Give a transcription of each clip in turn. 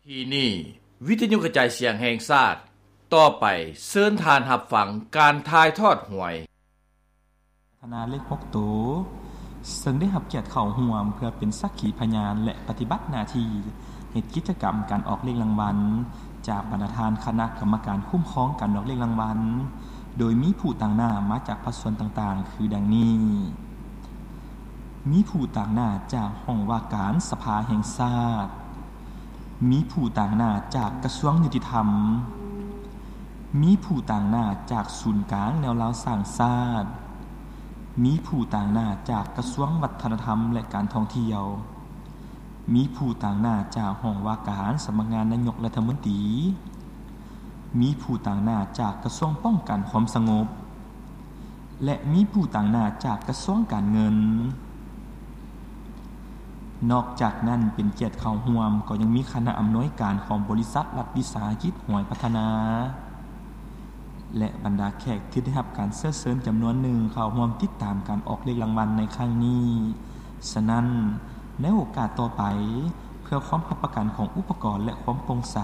ທີ່ນີ້ ວິທະຍຸກະຈາຍສຽງແຫ່ງຊາດ, ຕໍ່ໄປເຊີນທ່ານຮັບຟັງການຖ່າຍທອດຫວຍ. ພັດທະນາເລກຫົກໂຕ ເຊິ່ງໄດ້ຮັບກຽດເຂົ້າຮ່ວມເພື່ອເປັນສັກຂີພະຍານ ແລະ ປະຕິບັດໜ້າທີ່ເຮັດກິດຈະກຳການອອກເລກລາງວັນ ຈາກບັນດາທ່ານຄະນະກຳມະການຄຸ້ມຄອງການອອກເລກລາງວັນ ໂດຍມີຜູ້ຕາງໜ້າມາຈາກພາກສ່ວນຕ່າງໆ ຄືດັ່ງນີ້. ມີຜູ້ຕາງໜ້າຈາກຫ້ອງວ່າການສະພາແຫ່ງຊາດ, ມີຜູ້ຕາງໜ້າຈາກກະຊວງຍຸຕິທຳ, ມີຜູ້ຕາງໜ້າຈາກສູນກາງແນວລາວສ້າງຊາດ, ມີຜູ້ຕາງໜ້າຈາກກະຊວງວັດທະນະທຳ ແລະ ການທ່ອງທ່ຽວ, ມີຜູ້ຕາງໜ້າຈາກຫ້ອງວ່າການສຳນັກງານນາຍົກລັດຖະມົນຕີ, ມີຜູ້ຕາງໜ້າຈາກກະຊວງປ້ອງກັນຄວາມສະຫງົບ ແລະ ມີຜູ້ຕາງໜ້າຈາກກະຊວງການເງິນ. ນອກຈາກນັ້ນ ເປັນກຽດເຂົ້າຮ່ວມກໍຍັງມີຄະນະອຳນວຍການຂອງບໍລິສັດລັດວິສາຫະກິດຫວຍພັດທະນາ ແລະ ບັນດາແຂກທີ່ໄດ້ຮັບການເຊື້ອເຊີນຈຳນວນໜຶ່ງເຂົ້າຮ່ວມຕິດຕາມການອອກເລກລາງວັນໃນຄັ້ງນີ້. ສະນັ້ນ, ໃນໂອກາດຕໍ່ໄປ, ເພື່ອຄວາມຮັບປະກັນຂອງອຸປະກອນ ແລະ ຄວາມໂປ່ງໃສ,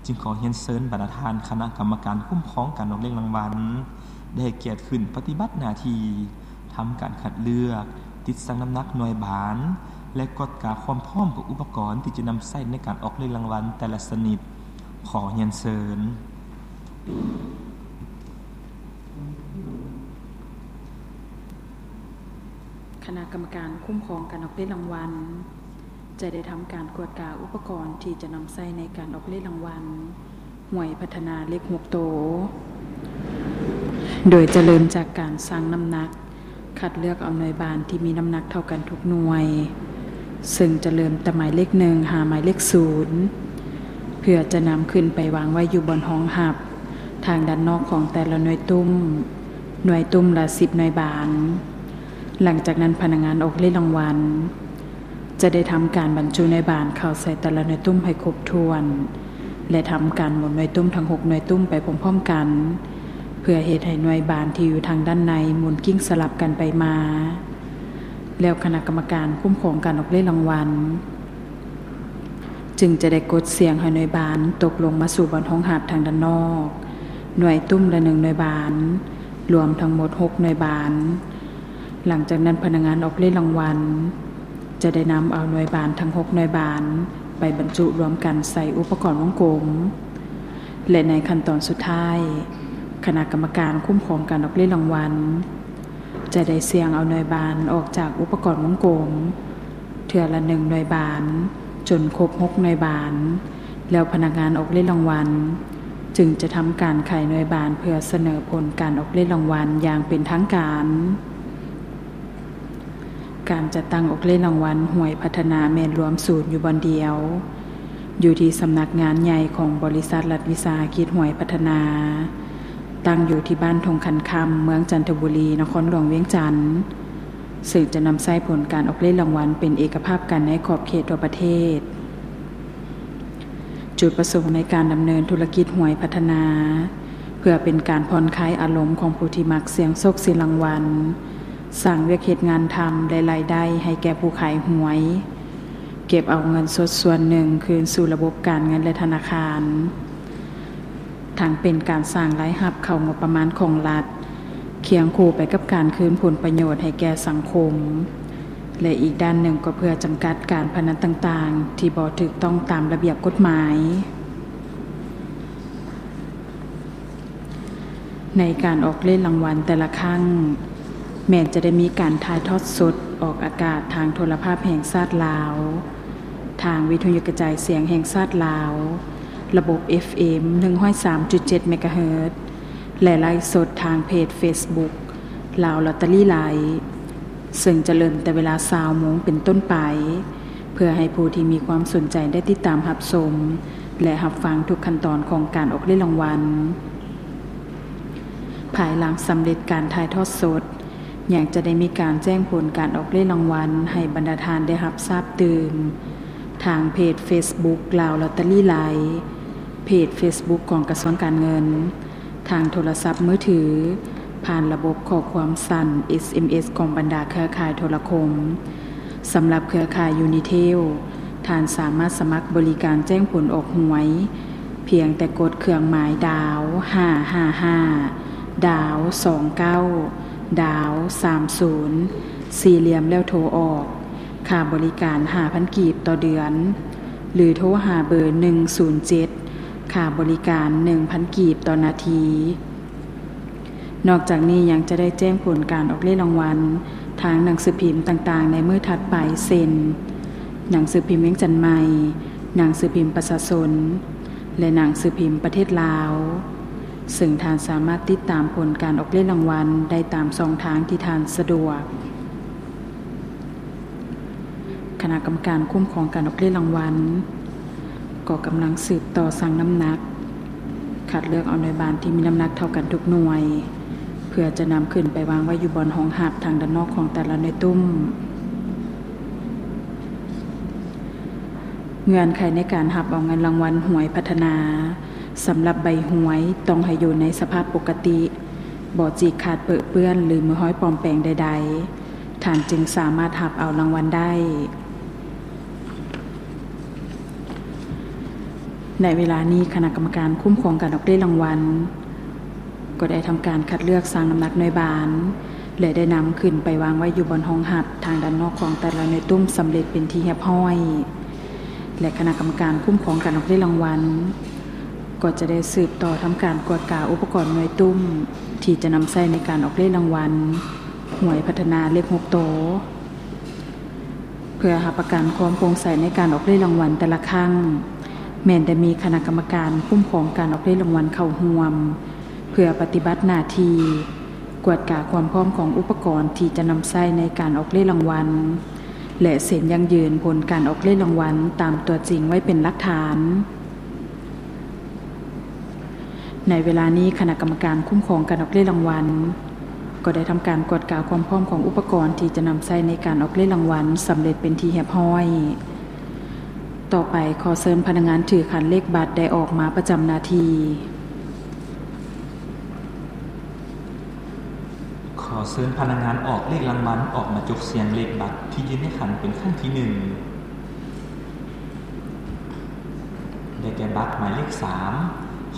ຈຶ່ງຂໍຮຽນເຊີນບັນດາທ່ານຄະນະກຳມະການຄຸ້ມຄອງການອອກເລກລາງວັນ ໄດ້ໃຫ້ກຽດຂຶ້ນປະຕິບັດໜ້າທີ່ ທຳການຄັດເລືອກ, ຕິດຊັ່ງນ້ຳໜັກໜ່ວຍບານ ແລະ ກວດກາຄວາມພ້ອມຂອງອຸປະກອນທີ່ຈະນຳໃຊ້ໃນການອອກເລກລາງວັນແຕ່ລະຊະນິດ. ຂໍຮຽນເຊີນ. ຄະນະກຳມະການຄຸ້ມຄອງການອອກເລກລາງວັນ ຈະໄດ້ທຳການກວດກາອຸປະກອນທີ່ຈະນຳໃຊ້ໃນການອອກເລກລາງວັນຫວຍພັດທະນາເລກຫົກໂຕ ໂດຍຈະເລີ່ມຈາກການຊັ່ງນ້ຳໜັກ, ຄັດເລືອກເອົາໜ່ວຍບານທີ່ມີນ້ຳໜັກເທົ່າກັນທຸກໜ່ວຍ, ເຊິ່ງຈະເລີ່ມແຕ່ໝາຍເລກໜຶ່ງຫາໝາຍເລກສູນ ເພື່ອຈະນຳຂຶ້ນໄປວາງໄວ້ຢູ່ບ່ອນຮອງຮັບ ທາງດ້ານນອກຂອງແຕ່ລະໜ່ວຍຕຸ້ມ, ໜ່ວຍຕຸ້ມລະສິບໜ່ວຍບານ. ຫຼັງຈາກນັ້ນ ພະນັກງານອອກເລກລາງວັນ ຈະໄດ້ທຳການບັນຈຸໜ່ວຍບານເຂົ້າໃສ່ແຕ່ລະໜ່ວຍຕຸ້ມໃຫ້ຄົບຖ້ວນ ແລະ ທຳການໝູນໜ່ວຍຕຸ້ມທັງຫົກໜ່ວຍຕຸ້ມໄປພ້ອມໆກັນ ເພື່ອເຮັດໃຫ້ໜ່ວຍບານທີ່ຢູ່ທາງດ້ານໃນໝູນກິ້ງສະຫຼັບກັນໄປມາ. ແລ້ວຄະນະກຳມະການຄຸ້ມຄອງການອອກເລກລາງວັນ ຈຶ່ງຈະໄດ້ກົດສ່ຽງໃຫ້ໜ່ວຍບານຕົກລົງມາສູ່ບ່ອນຮອງຮັບທາງດ້ານນອກ, ໜ່ວຍຕຸ້ມລະໜຶ່ງໜ່ວຍບານ, ລວມທັງໝົດຫົກໜ່ວຍບານ. ຫຼັງຈາກນັ້ນ ພະນັກງານອອກເລກລາງວັນ ຈະໄດ້ນຳເອົາໜ່ວຍບານທັງຫົກໜ່ວຍບານ ໄປບັນຈຸລວມກັນໃສ່ອຸປະກອນວົງກົມ ແລະ ໃນຂັ້ນຕອນສຸດທ້າຍ ຄະນະກຳມະການຄຸ້ມຄອງການອອກເລກລາງວັນ ຈະໄດ້ສ່ຽງເອົາໜ່ວຍບານອອກຈາກອຸປະກອນວົງກົມ ເທື່ອລະໜຶ່ງໜ່ວຍບານ ຈົນຄົບຫົກໜ່ວຍບານ, ແລ້ວພະນັກງານອອກເລກລາງວັນ ຈຶ່ງຈະທຳການໄຂໜ່ວຍບານເພື່ອສະເໜີຜົນການອອກເລກລາງວັນຢ່າງເປັນທາງການ. ການຈັດຕັ້ງອອກເລກລາງວັນຫວຍພັດທະນາແມ່ນລວມສູນຢູ່ບ່ອນດຽວ ຢູ່ທີ່ສຳນັກງານໃຫຍ່ຂອງບໍລິສັດລັດວິສາຫະກິດຫວຍພັດທະນາ, ຕັ້ງຢູ່ທີ່ບ້ານທົ່ງຄັນຄຳ, ເມືອງຈັນທະບູລີ, ນະຄອນຫຼວງວຽງຈັນ, ເຊິ່ງຈະນຳໃຊ້ຜົນການອອກເລກລາງວັນເປັນເອກະພາບກັນໃນຂອບເຂດທົ່ວປະເທດ. ຈຸດປະສົງໃນການດຳເນີນທຸລະກິດຫວຍພັດທະນາ ເພື່ອເປັນການຜ່ອນຄາຍອາລົມຂອງຜູ້ທີ່ມັກສ່ຽງໂຊກສ່ຽງລາງວັນ, ສ້າງວຽກເຮັດງານທຳ ແລະ ລາຍໄດ້ໃຫ້ແກ່ຜູ້ຂາຍຫວຍ, ເກັບເອົາເງິນສົດສ່ວນໜຶ່ງຄືນສູ່ລະບົບການເງິນ ແລະ ທະນາຄານ, ທັງເປັນການສ້າງລາຍຮັບເຂົ້າງົບປະມານຂອງລັດ, ຄຽງຄູ່ໄປກັບການຄືນຜົນປະໂຫຍດໃຫ້ແກ່ສັງຄົມ ແລະ ອີກດ້ານໜຶ່ງກໍເພື່ອຈຳກັດການພະນັນຕ່າງໆ ທີ່ບໍ່ຖືກຕ້ອງຕາມລະບຽບກົດໝາຍ. ໃນການອອກເລກລາງວັນແຕ່ລະຄັ້ງ ແມ່ນຈະໄດ້ມີການຖ່າຍທອດສົດອອກອາກາດທາງໂທລະພາບແຫ່ງຊາດລາວ, ທາງວິທະຍຸກະຈາຍສຽງແຫ່ງຊາດລາວ, ລະບົບ ເອັຟເອັມ ໜຶ່ງຮ້ອຍສາມຈຸດເຈັດ ເມກາເຮີດ ແລະ ໄລຟ໌ສົດທາງເພຈເຟສບຸກ ລາວລອດເຕີຣີໄລຟ໌ ເຊິ່ງຈະເລີ່ມແຕ່ເວລາຊາວໂມງເປັນຕົ້ນໄປ ເພື່ອໃຫ້ຜູ້ທີ່ມີຄວາມສົນໃຈໄດ້ຕິດຕາມຮັບຊົມ ແລະ ຮັບຟັງທຸກຂັ້ນຕອນຂອງການອອກເລກລາງວັນ. ພາຍຫຼັງສຳເລັດການຖ່າຍທອດສົດ, ຍັງຈະໄດ້ມີການແຈ້ງຜົນການອອກເລກລາງວັນໃຫ້ບັນດາທ່ານໄດ້ຮັບຊາບຕື່ມ ທາງເພຈເຟສບຸກ ລາວລອດເຕີຣີໄລຟ໌, ເພຈເຟສບຸກຂອງກະຊວງການເງິນ, ທາງໂທລະສັບມືຖື, ຜ່ານລະບົບຂໍ້ຄວາມສັ້ນ ເອສເອັມເອສ ຂອງບັນດາເຄືອຂ່າຍໂທລະຄົມ, ສຳລັບເຄືອຂ່າຍຢູນີເທລ, ທ່ານສາມາດສະໝັກບໍລິການແຈ້ງຜົນອອກຫວຍ ພຽງແຕ່ກົດເຄື່ອງໝາຍດາວ ຫ້າຫ້າຫ້າ ດາວ ສອງເກົ້າ ດາວ ສາມສູນ ສີ່ຫຼ່ຽມ ແລ້ວໂທອອກ. ຄ່າບໍລິການ ຫ້າພັນກີບຕໍ່ເດືອນ ຫຼື ໂທຫາເບີ ໜຶ່ງສູນເຈັດ ຄ່າບໍລິການ ໜຶ່ງພັນກີບຕໍ່ນາທີ. ນອກຈາກນີ້ຍັງຈະໄດ້ແຈ້ງຜົນການອອກເລກລາງວັນທາງໜັງສືພິມຕ່າງໆໃນມື້ຖັດໄປ ເຊັ່ນ ໜັງສືພິມວຽງຈັນໃໝ່, ໜັງສືພິມປະຊາຊົນ ແລະ ໜັງສືພິມປະເທດລາວ, ເຊິ່ງທ່ານສາມາດຕິດຕາມຜົນການອອກເລກລາງວັນໄດ້ຕາມຊ່ອງທາງທີ່ທ່ານສະດວກ. ຄະນະກຳມະການຄຸ້ມຄອງການອອກເລກລາງວັນ ກໍກຳລັງສືບຕໍ່ຊັ່ງນ້ຳໜັກ ຄັດເລືອກເອົາໜ່ວຍບານທີ່ມີນ້ຳໜັກເທົ່າກັນທຸກໜ່ວຍ ເພື່ອຈະນຳຂຶ້ນໄປວາງໄວ້ຢູ່ບ່ອນຮອງຮັບທາງດ້ານນອກຂອງແຕ່ລະໜ່ວຍຕຸ້ມ. ເງື່ອນໄຂໃນການຮັບເອົາເງິນລາງວັນຫວຍພັດທະນາ ສຳລັບໃບຫວຍຕ້ອງໃຫ້ຢູ່ໃນສະພາບປົກກະຕິ, ບໍ່ຈີກຂາດເປິເປື້ອນ ຫຼື ມີຮອຍປອມແປງໃດໆ. ທ່ານຈຶ່ງສາມາດຮັບເອົາລາງວັນໄດ້. ໃນເວລານີ້ ຄະນະກຳມະການຄຸ້ມຄອງການອອກເລກລາງວັນ ກໍໄດ້ທຳການຄັດເລືອກຊັ່ງນ້ຳໜັກໜ່ວຍບານ ແລະ ໄດ້ນຳຂຶ້ນໄປວາງໄວ້ຢູ່ບ່ອນຮອງຮັບທາງດ້ານນອກຂອງແຕ່ລະໜ່ວຍຕຸ້ມສຳເລັດເປັນທີ່ຮຽບຮ້ອຍ ແລະ ຄະນະກຳມະການຄຸ້ມຄອງການອອກເລກລາງວັນ ກໍຈະໄດ້ສືບຕໍ່ທຳການກວດກາອຸປະກອນໜ່ວຍຕຸ້ມ ທີ່ຈະນຳໃຊ້ໃນການອອກເລກລາງວັນຫວຍພັດທະນາເລກຫົກໂຕ. ເພື່ອຮັບປະກັນຄວາມໂປ່ງໃສໃນການອອກເລກລາງວັນແຕ່ລະຄັ້ງ, ແມ່ນໄດ້ມີຄະນະກຳມະການຄຸ້ມຄອງການອອກເລກລາງວັນເຂົ້າຮ່ວມ ເພື່ອປະຕິບັດໜ້າທີ່ກວດກາຄວາມພ້ອມຂອງອຸປະກອນທີ່ຈະນຳໃຊ້ໃນການອອກເລກລາງວັນ ແລະ ເຊັນຢັ້ງຢືນຜົນການອອກເລກລາງວັນຕາມຕົວຈິງໄວ້ເປັນຫຼັກຖານ. ໃນເວລານີ້ ຄະນະກຳມະການຄຸ້ມຄອງການອອກເລກລາງວັນ ກໍໄດ້ທຳການກວດກາຄວາມພ້ອມຂອງອຸປະກອນທີ່ຈະນຳໃຊ້ໃນການອອກເລກລາງວັນສຳເລັດເປັນທີ່ຮຽບຮ້ອຍ. ຕໍ່ໄປ ຂໍເຊີນພະນັກງານຖືຂັນເລກບັດໄດ້ອອກມາປະຈຳໜ້າທີ່. ຂໍເຊີນພະນັກງານອອກເລກລາງວັນອອກມາຈົກສ່ຽງເລກບັດທີ່ຢູ່ໃນຂັນເປັນຄັ້ງທີໜຶ່ງ. ໄດ້ແກ່ບັດໝາຍເລກສາມ.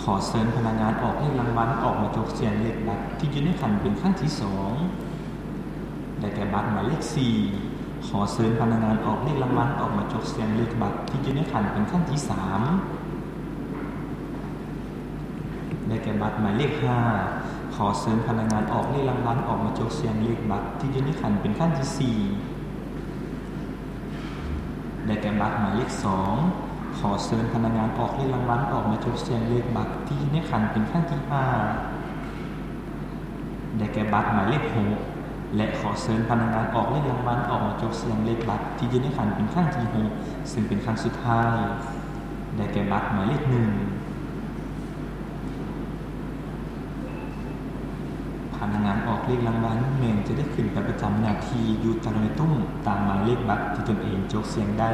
ຂໍເຊີນພະນັກງານອອກເລກລາງວັນອອກມາຈົກສ່ຽງເລກບັດທີ່ຢູ່ໃນຂັນເປັນຄັ້ງທີສອງ. ໄດ້ແກ່ບັດໝາຍເລກສີ່. ຂໍເຊີນພະນັກງານອອກເລກລາງວັນອອກມາຈົກສ່ຽງເລກບັດທີ່ຢູ່ໃນຂັນເປັນຄັ້ງທີສາມ. ໄດ້ແກ່ບັດໝາຍເລກຫ້າ. ຂໍເຊີນພະນັກງານອອກເລກລາງວັນອອກມາຈົກສ່ຽງເລກບັດທີ່ຢູ່ໃນຂັນເປັນຄັ້ງທີສີ່. ໄດ້ແກ່ບັດໝາຍເລກສອງ. ຂໍເຊີນພະນັກງານອອກເລກລາງວັນອອກມາຈົກສ່ຽງເລກບັດທີ່ຢູ່ໃນຂັນເປັນຄັ້ງທີຫ້າ. ໄດ້ແກ່ບັດໝາຍເລກຫົກ ແລະ ຂໍເຊີນພະນັກງານອອກເລກລາງວັນອອກມາຈົກສ່ຽງເລກບັດທີ່ຢູ່ໃນຂັນເປັນຄັ້ງທີຫົກ ເຊິ່ງເປັນຄັ້ງສຸດທ້າຍ. ໄດ້ແກ່ບັດໝາຍເລກໜຶ່ງ. ພະນັກງານອອກເລກລາງວັນແມ່ນຈະໄດ້ຂຶ້ນໄປປະຈຳໜ້າທີ່ຢູ່ແຕ່ລະໜ່ວຍຕຸ້ມຕາມໝາຍເລກບັດທີ່ຕົນເອງຈົກສ່ຽງໄດ້.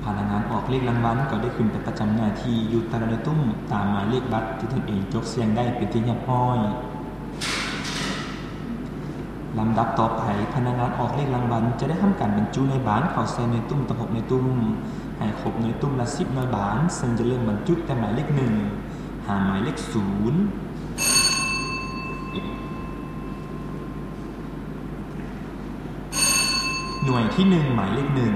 ພະນັກງານອອກເລກລາງວັນກໍໄດ້ຂຶ້ນໄປປະຈຳໜ້າທີ່ຢູ່ແຕ່ລະໜ່ວຍຕຸ້ມຕາມໝາຍເລກບັດທີ່ຕົນເອງຈົກສ່ຽງໄດ້ເປັນທີ່ຮຽບຮ້ອຍ. ລຳດັບຕໍ່ໄປ, ພະນັກງານອອກເລກລາງວັນຈະໄດ້ທຳການບັນຈຸໜ່ວຍບານເຂົ້າໃສ່ໜ່ວຍຕຸ້ມທັງຫົກໜ່ວຍຕຸ້ມ ໃຫ້ຄົບໜ່ວຍຕຸ້ມລະສິບໜ່ວຍບານ, ເຊິ່ງຈະເລີ່ມບັນຈຸແຕ່ໝາຍເລກໜຶ່ງ ຫາໝາຍເລກສູນ. ໜ່ວຍທີໜຶ່ງ ໝາຍເລກໜຶ່ງ.